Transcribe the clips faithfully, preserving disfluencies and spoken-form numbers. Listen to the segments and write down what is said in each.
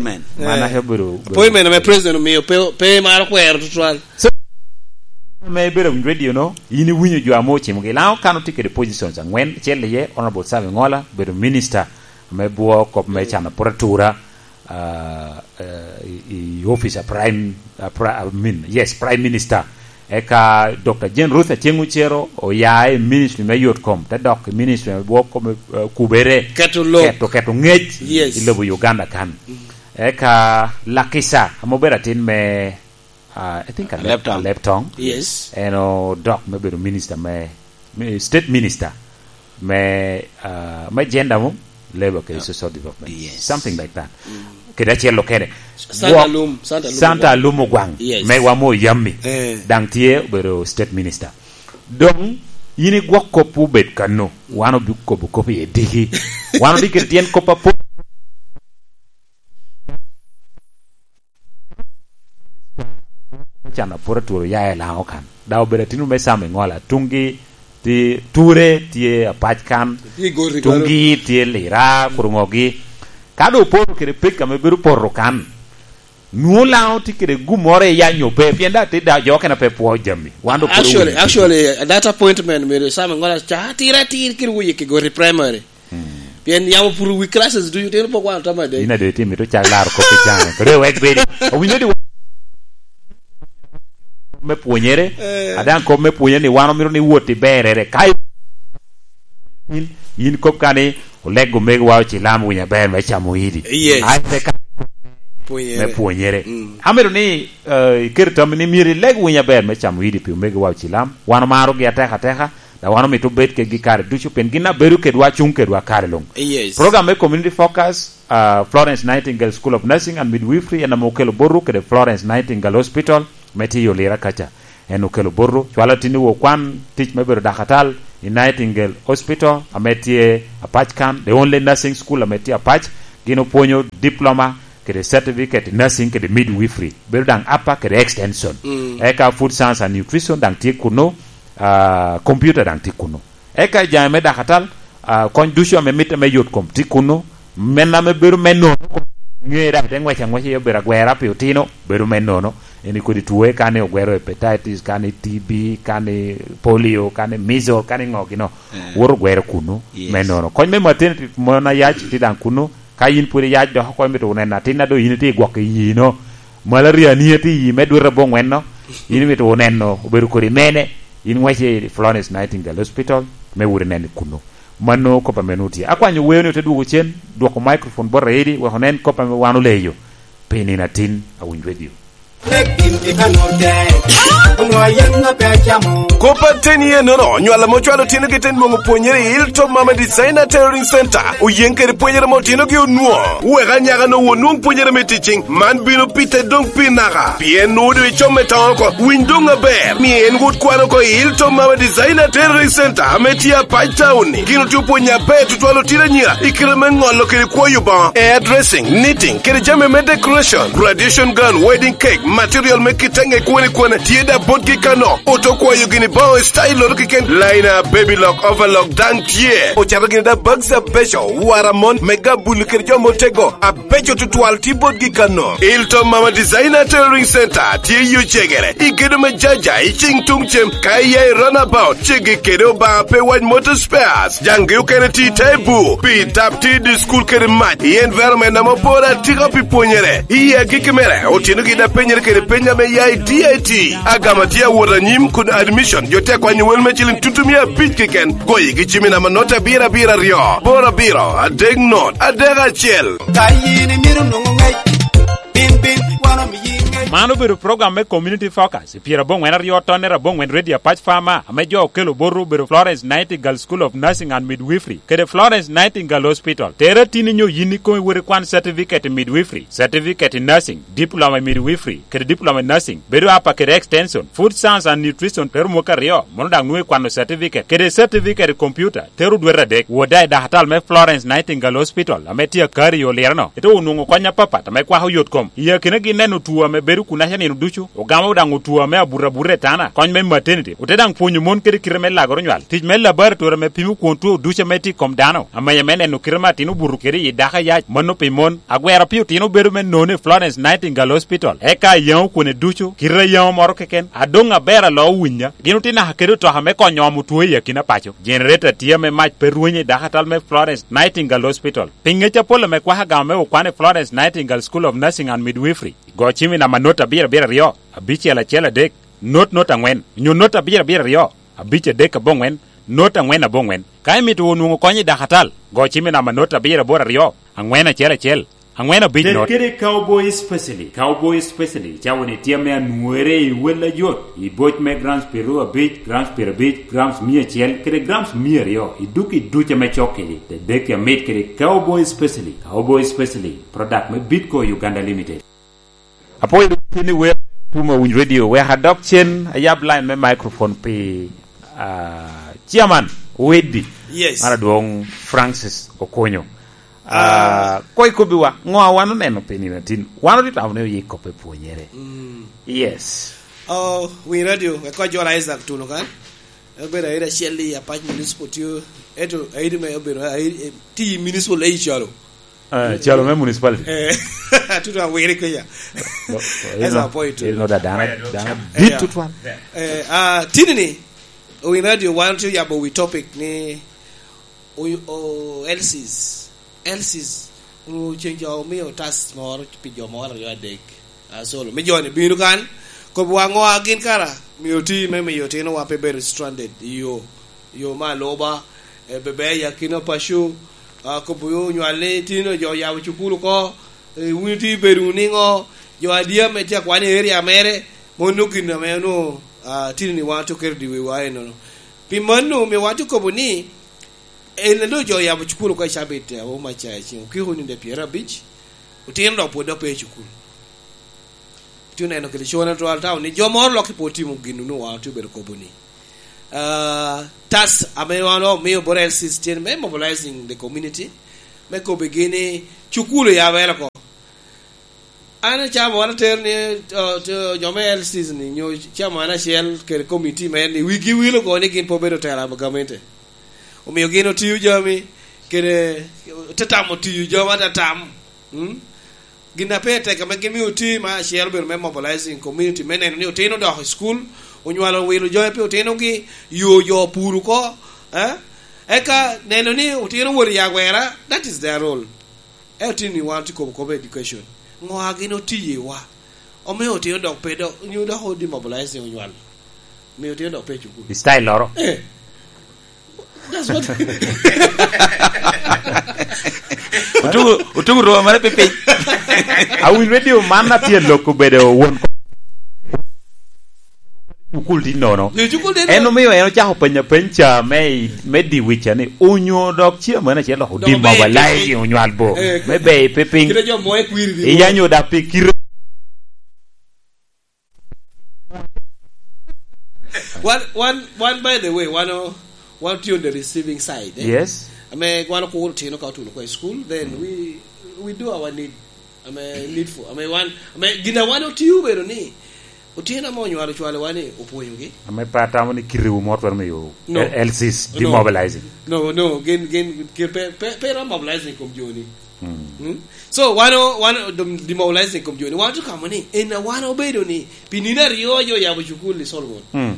Amen. Mana Eh, ka obedo, obedo appointment ame president omio pe, pe maro kwero tutwal. So, me bedo radio no, in iwinyo jo ame ocimogi. Laŋo kan otye kede positions angwen, acel iye, Honorable Sam Ingola, obedo minister me bwo kop me cano apworatura, ah, eh, i, i office a prime, a pri-, I mean, yes, prime minister. Eka Doctor Jane Ruth Aceng Ocero oya i ministry me yot kom, te dok i ministry me bwo kom, eh, kubere. Keto lok. Keto, keto ngec Yes. i lobo Uganda kan. Mm. Eka Lakisa, ame obedo atin me, ah, I think Alep Tong. Alep Tong. Yes. En odok me bedo minister me, me state minister me, ah, me gender mo, labor kede social development. Yes. Something like that. Mm. Kede acel okene. Santa Gwok Alum, Santa Alum Santa Ogwang. Alum Ogwang. Yes. Me wamo yammi. Eh. Daŋ tye obedo state minister. Doŋ, yin igwok kop obed kano. Wan obikobo kop i diki. Wan odikere tyen kop apol. Can apwot atworo ya i Laŋo kan. Da obedo atino me Sam Ingola. Tuŋgi ti-, ture tye Apac kan. Tye i Goti, tuŋgi tye Lira, Kuruŋogi. Ka doŋ oporo kede pek ame bedo poto kan, nwoŋo Laŋo tye kede gummoro i yanyo pe, pien da te da jo okene pe pwo jami. Wan doŋ pwod Actually, owinyo actually, that appointment mere Sam Ingola ca atir atir kede wuye ki Goti Primary. Hmm. Pien yamo puro wi classes ducu, tino pok wan otamo adek. In ade itye mito cak laro kop i can. Kede wek bedi. Owinyo di me pwonyere, Eh. adaŋ kop me pwonyere ni wan omito ni wot i berere. Ka in, in kop ka ni, "Oleg omegowa ocilam winyo aber me camo idi." Yes. Ai, te ka Pwonyere. me pwonyere. Mm. Amito ni, eh, iket i tammi ni myero ileg winyo aber me camo idi pi omegowa ocilam. Wan omarogi ateka ateka, da wan omito bed kedgi kare ducu, pien gin a bedo kedwa, cuŋ kedwa kare luŋ. Yes. Program me Community Focus, ah, Florence Nightingale School of Nursing and Midwifery en ame okelo botwu kede Florence Nightingale Hospital me tye i Olira kaca. En okelo botwu, cwalo tin i okwan tic me bedo dakatal i Nightingale Hospital ame tye Apac kan, the only nursing school ame tye Apac. Gin opwonyo diploma kede certificate nursing kede midwifery. Bedo daŋ upper kede extension. Mm. Eka food science and nutrition daŋ tye kuno, ah, computer daŋ tye kuno. Eka i jami me dakatal, ah, kony ducu ame mitte me yot kom tye kuno. Men ame bedo me nono, ŋe daŋ te ŋwec aŋweca i obedo agwera pi otino, bedo me nono. En i kodi tuo, ka ni ogwero hepatitis, ka ni T B, ka ni polio, ka ni measles, ka ni ŋo gino. Eh. Woto ogwero kuno, Yes. me nono. Kony me maternity mon ayac tye daŋ kuno. Ka yin pwod iyac dok oko, imito wunu neno atin a doŋ yin itye i gwok i yino, malaria ni tye i yi me dwete aboŋwen-no, yin imito wunu neno obedo kodi mene, yin ŋwece i Florence Nightingale Hospital me wot ineno kuno. Mano kop ame nwoŋo tye. Akwanyo weo ni ote dwogo cen, dwoko microphone bot Raidi, wek onen kop ame wan oleyo pi nino atin a Winy Radio. Kop ateni enono, nywal ame ocwalo otyeno gi te nwoŋo pwonyere i Hilltop Mama Designer Tailoring Center, oyeŋ kede pwonyere ame otyeno gi onwoŋo. Wek anyaka no onwoŋ pwonyere me ticing, man bino pite doŋ pi naka. Pien nwoŋo doŋ icom me toŋ oko, winy doŋ aber. Mi en wot kwan oko i Hilltop Mama Designer Tailoring Center ame tye Apac Town-ni. Gin otye opwonyo aber tutwal otino anyira i kite me ŋolo kede kwoyo boŋo, hairdressing, knitting, kede jami me decoration, graduation gown, wedding cake, material me kite ŋe kwane kwane tye da botgi kano. Oto kwayo gini boŋo i style oro keken, liner, baby lock, overlock daŋ tye. Ocato gini da bags abeco, wara mon, me gabuli kede jo motego, abeco tutwal tye botgi kano. Ilto Mama Designer Tailoring Center tye i Ocegere, i gedo me Jaja, i cing tuŋ cem, ka iya i runabout, ceggi kede Obaŋa pe wac Motor Spares. Jaŋgi okene tye i te bur, pi tap tye i dye cukul kede mac, i environment ame oporo atika pi pwonyere. I agikki mere, otyeno gin apenyere kede peny ame ya i D I T. Agama tye awot anyim kun admission, jo tye akwanyo wel me ciling tutu mia abic keken. Goyi gi cimi namba not abiro abiro aryo, boro abiro, adek not, adek acel. Ka yin imito nwoŋo ŋec, bin, bin, wan omiyi ŋec. Man obedo program me Community Focus. I pyera aboŋwen aryo tonne aboŋwen Radio Apac Farmer, ame jo okelo botwu obedo Florence Nightingale School of Nursing and Midwifery, kede Florence Nightingale Hospital. Tere tin inyo yin ikomi wot ikwan certificate i midwifery, certificate i nursing, diploma i midwifery, kede diploma i nursing, bedo apa kede extension, food science and nutrition, tero mwaka aryo, mono daŋ nwoŋo ikwano certificate, kede certificate i computer, tero dwete adek. Wot da i dakatal me Florence Nightingale Hospital, ame tye akari i Oliro-no, ite onwoŋo kony apapat ame kwako yot kom. I akinagi neno tuo ame bedo Kun aca nino ducu, ogamo daŋ otwo ame abuto abuta i tana, kony me maternity, ote daŋ pwonyo mon kede kite me lagoro nywal, tic me laboratory ame pimo kwon two ducu ame tye i kom dano, amenya me neno kite me atin obuto kede i dako ayac, mano pi mon. Agwero pi otino bedo me nono i Florence Nightingale Hospital, eka ayaŋo kwone ducu, kite ayaŋo moro keken, adoŋ aber alo owinya. Gin otye naka kede otoka me konyo omo two i akina paco. Generator tye ame mac pe rwenyo i dako atal me Florence Nightingale Hospital. Pi ŋec apol ame kwako agama me okwan i Florence Nightingale School of Nursing and Midwifery, go cim i namba not abiro abiro aryo, abicel acel adek, not not angwen, onyo not abiro abiro aryo, abic adek aboŋwen, not angwen aboŋwen. Ka imito wunu nwoŋo kony i dakatal, go cim i namba not abiro aboro aryo, angwen acel acel, angwen abic not. Kede Cowboy Specialty. Cowboy Specialty cawa ni tye ame anwore i wel ajot, i boc me grams piero abic, grams piero abic, grams mia acel, kede grams mia aryo, i duk i duc ame cok kedi. Te dek amit kede Cowboy Specialty. Cowboy Specialty, product me Bitco Uganda Limited. Apoyo dok tin i wer Tuma Winy Radio. Wek adok cen, ayab line me microphone pi, ah, chairman Weddi. Yes. Mar adwong Francis Okonyo. Ah, ah, koi kobbi wa, ngo a wan oneno pi nino atin? Wan otye tamo ni oye kop e pwonyere. Mm. Yes. Oh, Winy Radio, wek koj Jola Isaac Tuno kan. Obedo aida acel i Apac Municipal tio, eto aida me obedo aida, eh, ti municipal ei calo. Eh, calo me municipality. Eh, tutu awiri kenya. No, that's a point. Ino da dana, dana. Yeah. Bit tutwan. Eh, ah, tini ni, Owin Radio wan tio yabo wi topic ni, o, o, L Cs. L Cs, onwoŋo ceng jo omio tas moro pi jo moro aryo adek. Asolo, me joni bino kan, kobbi wa ŋo a gin kara, mio ti me miyo otinowa pe bedo stranded i yo, yo me aluba, eh, bebe i akina paco, ah, kobbi onywal ni tino jo oyabo cukulu oko, eh, wun iti bedo wunu niŋo, jo adi ame tye akwan i area mere, mono gin ame onwoŋo, ah, tino ni wan otye oketo i wiwa enono. Pi mano, omio wan tye okobo ni, en a doŋ jo oyabo cukulu oko i cabit, eh, o maca i ceng okiko nino pyero abic, otino dok pwod dok pe i cukulu. Otye oneno kede cone twal tao ni jo moro loki pe otimo gin onwoŋo wan otye obedo kobo ni. Ah, tas ame wan omio bot L Cs tyen me mobilizing the community, me kobigi ni cukulu oyabere oko. An acamo wan atero ni, uh, to, jo me L Cs ni, nyo camo an acel kede komiti me ni, wigi wil oko ni gin pe obedo tela me gamente. Omio gin otiyo jami, kede te tamo tiyo jami ata tam. Mm? Gin a pe tek ame gin mio oti ma acel obedo me mobilizing community, me neno ni otino odok i school, onywalo wilo jami pi otinogi, yo jo pur oko, eh? Eka neno ni otino wot i agwera, that is their role. Ento tye ni wan tye kobo kobo education. Ŋo a gin otiye wa? Omio otino dok pe dok, nyo dok o demobilize onywal. Omio otino dok pe i cukul. I style loro. Eh. That's what Otugo, otugo roba mare pe piny. Awinyo radio man na tye lok obedo won cukul tye nono. Ni cukul tye nono. En omio en ocako penyo apeny ca me, me di wica ni, onyo dok chairman acel dok demobilize onywal bo. Eh, me be pe piny. Kite jo mo e kwiri di. Iyanyo da pi kiro. One, one, one, by the way, one, oh, one tye on the receiving side, eh? Yes. Ame wan okuro tino ka otuno kwa i school, then we, we do our need. Ame needful. Ame wan, ame gin a wan otiyo bedo ni, otino ame onywalo cwale wan ni, opwonyogi. Ame pe atamo ni kitewu mo twero miyo No. L Cs No. demobilizing. No, no, gin, gin, gin pe, pe, pe rom mobilizing kom joni. Mm. Mm? So, wan o-, wan o-, dem-, demobilizing kom joni. Wan otye kamo ni, en a wan obedo ni, pi nino aryo jo oyabo cukul i Solomon. Mm.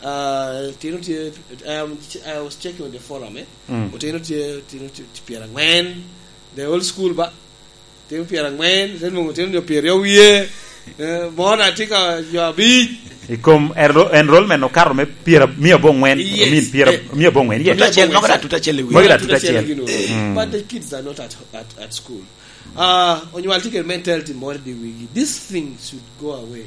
Ah, tino tye, um, ch-, I was checking on the forum, eh? Mm. Otino tye, tino tye, tye pyerangwen. The whole school ba. Tino pyerangwen, then mong otino jo pyeraryo wie. Eh, mona tye ka jo abic. I kom enro-, enrollment okato me pyera, mia abongwen, Yes. I mean, pyera, Eh. mia abongwen, yes. Tuta acel, moko da tuta acel i wiye. Moko da tuta acel. Gino. Mm. But the kids are not at, at, at school. Ah, onywal tye kede mentality moro i wigi. This thing should go away.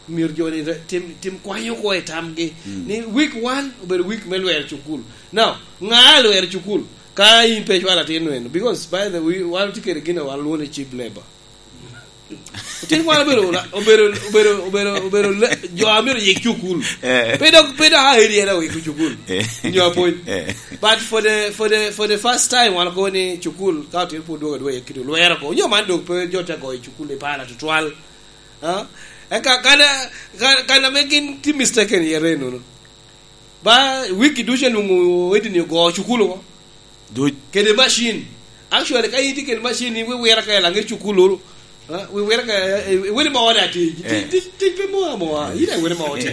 Myero jo ni re-, tim, tim kwanyo oko i tamgi. Mm. Ni week one obedo week me lwero cukul. Now, ŋa lwero cukul? Ka in pe icwalo atin wenu. Because, by the way, wan tye kede gin a wan lwongo ni cheap labor. Otin wan obedo la-, obedo, obedo, obedo, obedo le-, jo a myero yik cukul. Eh. Pe dok, pe dok a area na wik cukul. Eh. Nyo apwony. Eh. But for the, for the, for the first time, wan okobo ni cukul, ka otin pwod dwogo adwoga, kit olwero ko. Nyo man dok pe jo te goyo cukul i para tutwal. Ah? Eka kan, kan, kan ame gin tye mistaken i yere nono. Ba wiki ducu anwoŋo edi ni ogo cukulu ko. Duc. Kede machine. Actually, ka in tye kede machine, in wiwira ka i laŋet cukulu, ah, wiwira ka, eh, eh, wene ma ode ati. Ti-, Eh. ti-, ti-, pe mo amoa. In aye wene ma oti.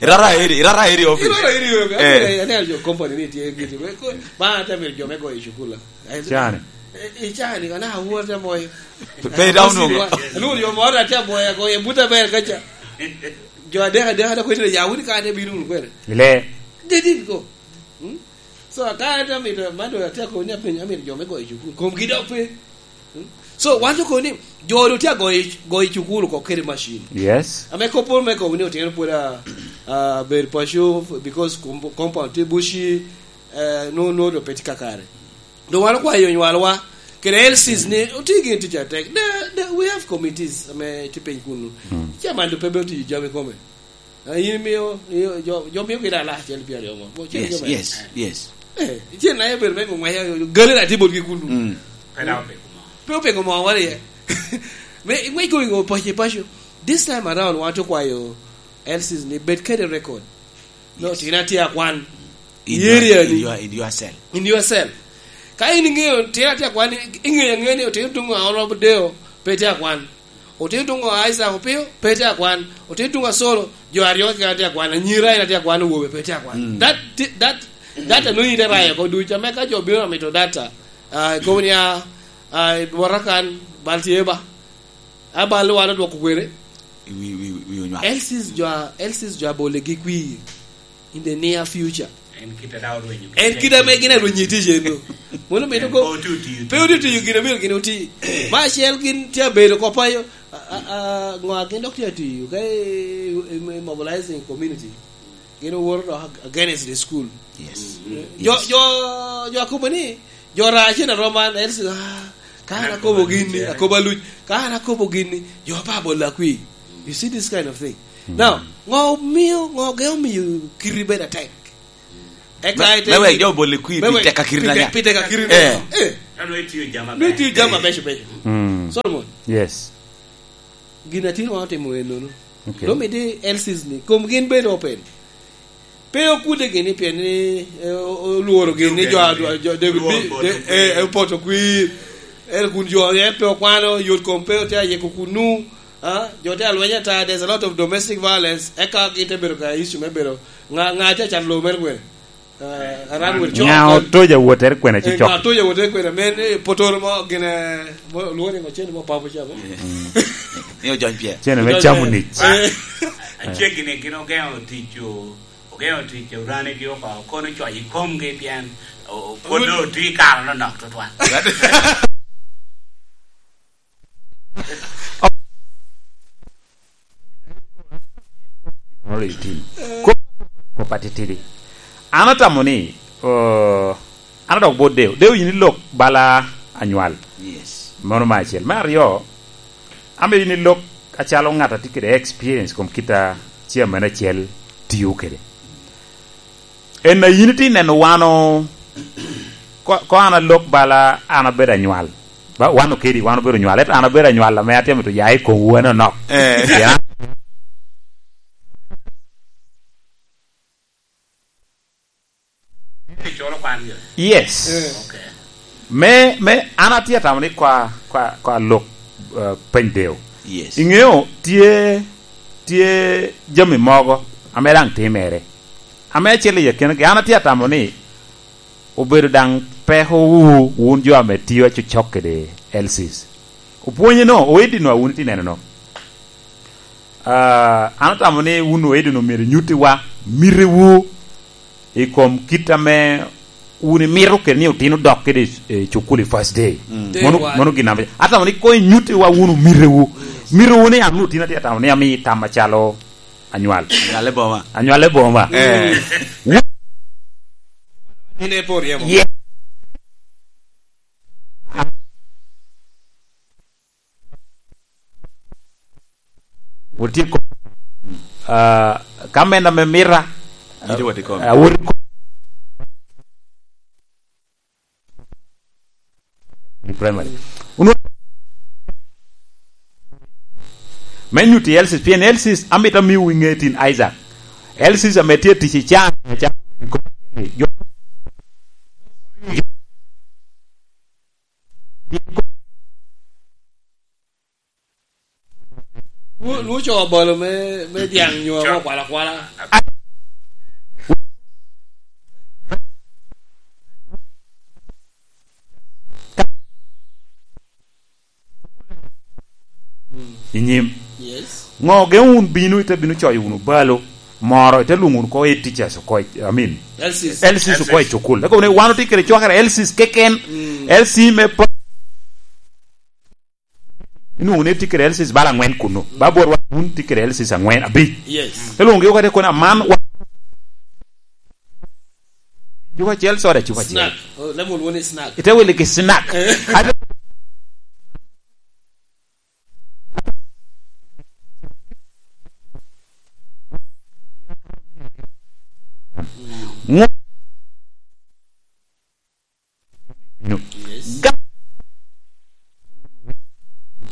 Irara eri, irara eri office. Irara eri office. Eh. Ane, ane jo company ni tye giti. Ko, ba ate mito jo me go i cukulu. Cani. Eh, eh, cani, kana awuo te moyo. Pe, pe dawno. Alwor jo moro atye aboya ko, e buta ber kaca. Jo adek, adek, adek, kwene ya wuni ka ate bino wunu kwene. Ile. They didn't go. Hmm? So, ka ate amito, man do atye akobo ni apenyo, amito jo me goyo cukul. Komgi dok pe. Hmm? So, wan jo kobo ni, jo do tye agoyo, goyo cukul oko kede macin. Yes. Ame kop moro me kobo ni otino pwod a, a, ber paco, because com-, compound tye buci, eh, no, no, do pe tye kakare. Doŋ wan okwayo onywalwa, kede L Cs ni, oti gin tic atek. The, the, we have committees ame tye piny kunu. Mm. Chairman do pe bedo tiyo jami kome. Ah, in imio, i-, jo, jo mio gin alaa acel pyeraryo mo. Mo, cen Yes, jo me- yes, yes. Eh, cen na ebed me ngweya, galera tye botgi kunu. Mm. Pe dok opeko mo. Pe opeko mo wala ye. Me, me go, go paco, paco. This time around, wan okwayo L Cs ni bed kede record. No, Yes. Tina tye akwan. In I area your, in ni. Your, in your cell. In your cell. Ka in iŋeo, tye atye akwan, iŋeo aŋea ni otino tuŋ a Honorable Deo, pe tye akwan. Otino tuŋ a Isaac Opio, pe tye akwan. Otino tuŋ a Solo, jo aryo keken atye akwan. Anyira en atye akwan, owobe pe tye akwan. Mm. That, that, that anonyi te rayo ko ducu. Ame ka jo bino amito data, ah, ikobo ni, ah, ah, Warakan, bal tye ba. A bal wan odwoko kwene. Wi, wi, wi onywak. L Cs jo a, L Cs jo a bolegi kwi. In the near future. En kite daŋ orwenyo. En kite ame gin arwenyo i tic eno. Mono mito ko, pe oti otiyo, pe oti otiyo gin amito gin oti. Ma acel gin tye abedo ko payo, a, a, a, ŋo a gin dok tye atiyo, ka i, i, i mobilizing community. Gin owoto dok ag-, against the school. Yes. Mm. Jo, Yes. jo, jo akobo ni, Jo rac en aromo an, en, ah, ka an akobo gin ni, akobo aluc, ka an akobo gin ni, jo pa bolla kwi. You see this kind of thing. Mm. Now, ŋo omio, ŋo ge omio kiri bedo atek? Eka me, ite me wek jo boli kwi me pi wek teka kiri pi na te-, nya. Pi teka kiri na nya. Eh. Eh. Ka nwe itiyo jama ber. Nwe itiyo jama beco beco. Mm. Solomon. Yes. Gin a tino wan otimo en nono. Okay. Lo miti L Cs ni, kom gin bedo open. Pe okude gini pien ni, eh, o-, olworo gini jo a-, jo David Lworo Bi-, poto de-, kwir. Eh, eh, poto kwir. En kun jo en pe okwano, yot kom pe otye ayiko kunu. Ah, jo tye alweny ata, there's a lot of domestic violence. Eka gin te bedo ka issue me bedo. Ŋa, ŋa tye acan lobo mere kwene? Ah, aran wot cok. Ŋa otoja wotere kwene ci cok? Eh, ŋa otoja wotere kwene? Men, eh, potoro mo gine, mo, lworo ni ŋo cen mo papo ca mo. Mm. Ni ojony pye. Cen me camo nic. Eh. Aceggi ni gin ogeŋo tic o-, Ogeŋo tic a uranigi oko, kono coc i komgi pien o-, o-, pwod doŋ otye i kare nonok tutwal. Moro i tim. Ko-, kop atitidi. An atamo ni, uh, an adok bot Deo. Deo, yin ilok bala anywal. Yes. Mano me acel. Me aryo, amito yin ilok acalo ŋat a tye kede experience kom kit a chairman acel tio kede. En a yin itye neno wan o, ko, ko an alok bala an abedo anywal. Ba, wan okedi, wan obedo onywal. Ento an abedo anywal ame atye mito ya i komwu en onok. Eh. Ya. Iculo kwan gire? Yes. Eh. Okay. Me, me, an atye atamo ni kwa, kwa, kwa lok, uh, peny Deo. Yes. Iŋeo tye, tye jami mogo ame daŋ timere. Ame acel i akinagi, an atye atamo ni obedo daŋ pekowu, wun jo ame tio acocok kede L Cs. Opwonye no, oedi no, wun itye neno no. Ah, an atamo ni wun oedi no myero inyuttiwa mitewu i kom kit ame wun imito kede ni otino dok kede i, i cukul i first day. Mm. Day one. Mano, mano gin ame atamo ni koŋ inyuttiwa wun omitewu. Yes. Mitewu ni an wun otino atye atamo ni ami tam macalo anywal. Anywal e boma. Anywal e boma. Eh. Wun in e por yemo. Yeah. Wutye ko-, ah, ka menda me mita, awot ko-, primary. Unu-, Me nyutti Elsis, pien Elsis amito amiwu i ŋe tin Isaac. Elsis ame tye tic i can, i can, jo, Lu- Luco bolo me, me dyaŋ nyo ame okwalo akwala. I nyim. Yes. Ŋo gen wun bino, ite bino coyo wunu balo moro, ite lwoŋo wunu ko head teachers oko, I mean, L Cs. L Cs oko i cukul. Eka wunu, wan otye kede cwakere L Cs keken. Mm. L C me pa-, inwoŋo ni tye kede L Cs bala angwen kuno. Ba bwot wan wun tye kede L Cs angwen, abic. Yes. Te lwoŋogi oko ite kono aman wa-, cupa acel soda, cupa acel. Snack. Oh, lemon one is snack. Ite wili ki snack. Ate- Ŋo-, ga-,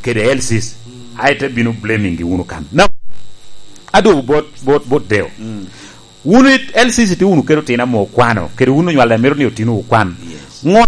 kede L Cs, aye te bino blaming gi wunu kan. Na, adwogo bot, bot, bot Deo. Wun i L Cs itye wunu kede otino ame okwano, kede wun onywal a mito ni otino okwan. Yes. Ŋo